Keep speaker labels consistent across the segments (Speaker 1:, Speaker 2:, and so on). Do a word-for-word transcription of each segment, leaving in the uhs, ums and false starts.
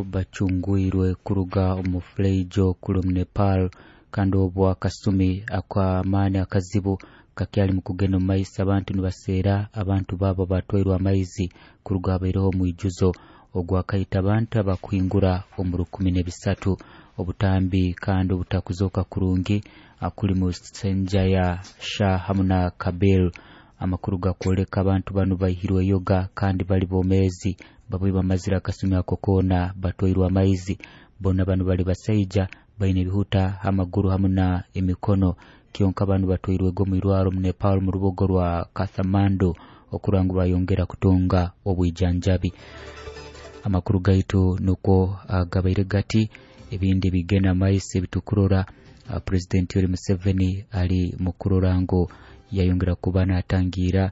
Speaker 1: Bacungwirwe kuruga omu fuleijo kuli omu Nepal, kandi obwo akasumi ak'amaani akazibu kakyali mu kugenda omu maiso. Abantu nibaseera abantu baabo batwairwe amaizi kuruga habaireho omwijuzo ogwakaita abantu abakuhingura omu rukumi n'ebisatu. Obutambi kandi obutakuzooka kurungi kuli mu Senjaya Shah hamu na Kabil. Amakuru gakwoleka abantu banu baihirwe yoga kandi bali bomeezi, babwe bamazire akasumi ako koona batwairwe amaizi. Bona banu bali basaija baine ebihuta amaguru hamu na emikono. Kyonka banu batwairwego omu irwaro mu Nepal mu rubuga rwa Kathmandu okurora ngu bayongera kutunga obwijanjabi. Amakuru gaitu nukwo gabaire gati. Ebindi bigenda maiso ebitukurora, President Yoweri Museveni ali mukurora ngu yayongera kuba natangira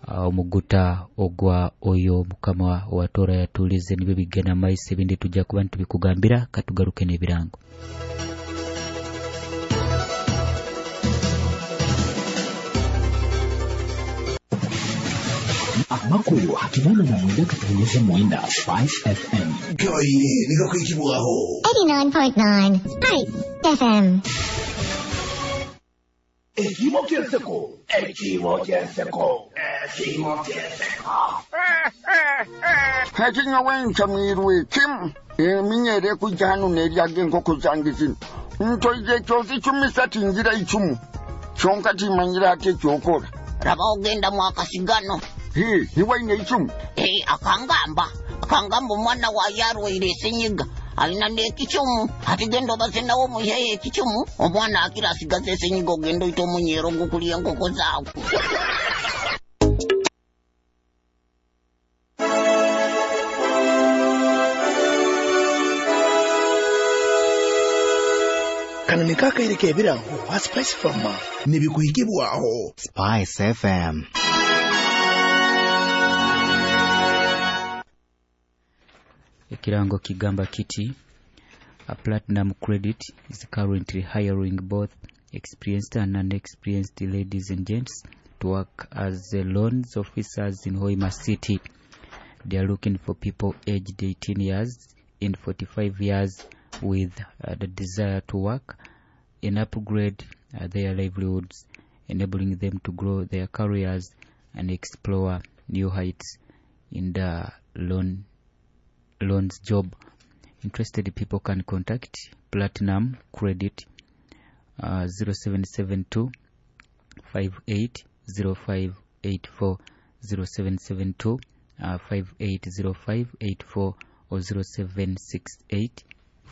Speaker 1: omuguta ogwa oyo mukama owatora yatulize. Nibyo bigenda maiso, ebindi tujja kuba nitubikugambira. Katugaruke n'ebirango.
Speaker 2: Amakuru hakinana na mwenda katunyeze mwenda Spice F M.
Speaker 3: Gaire nikakwikibwaho
Speaker 4: eighty-nine point nine Spice F M.
Speaker 3: Ekimo kyenseko, ekimo kyenseko, ekimo kyenseko.
Speaker 5: Hakinya wencha mwirwe kim eminyere kujja hano neryaga enkoko zange zino. Ntoije kyozi icumi tingira icumu. Kyonka timanyira ate ekyokora.
Speaker 6: Raba ogenda mu akasigano.
Speaker 5: He, niwaine icumu.
Speaker 6: Eh, akangamba. Akangamba omwana wa yarwaire esenyiga. Alina n'ekicumu. Ati genda obaze nawe omuheyo ekicumu. Omwana akira asigaze esenyiga ogenda oyita omunyeero ogukulya enkoko zaawe.
Speaker 3: Kano ni kakaire k'ebirango wa Spice Farmer nibikuhikibwaho
Speaker 7: Spice F M.
Speaker 1: Ekirango kigamba kiti: a Platinum Credit is currently hiring both experienced and unexperienced ladies and gents to work as loans officers in Hoima City. They are looking for people aged eighteen years and forty-five years with uh, the desire to work and upgrade uh, their livelihoods, enabling them to grow their careers and explore new heights in the loan loans job. Interested people can contact Platinum Credit uh, zero seven seven two five eight zero five eight four, zero seven seven two, uh, five eight zero five eight four, or zero seven six eight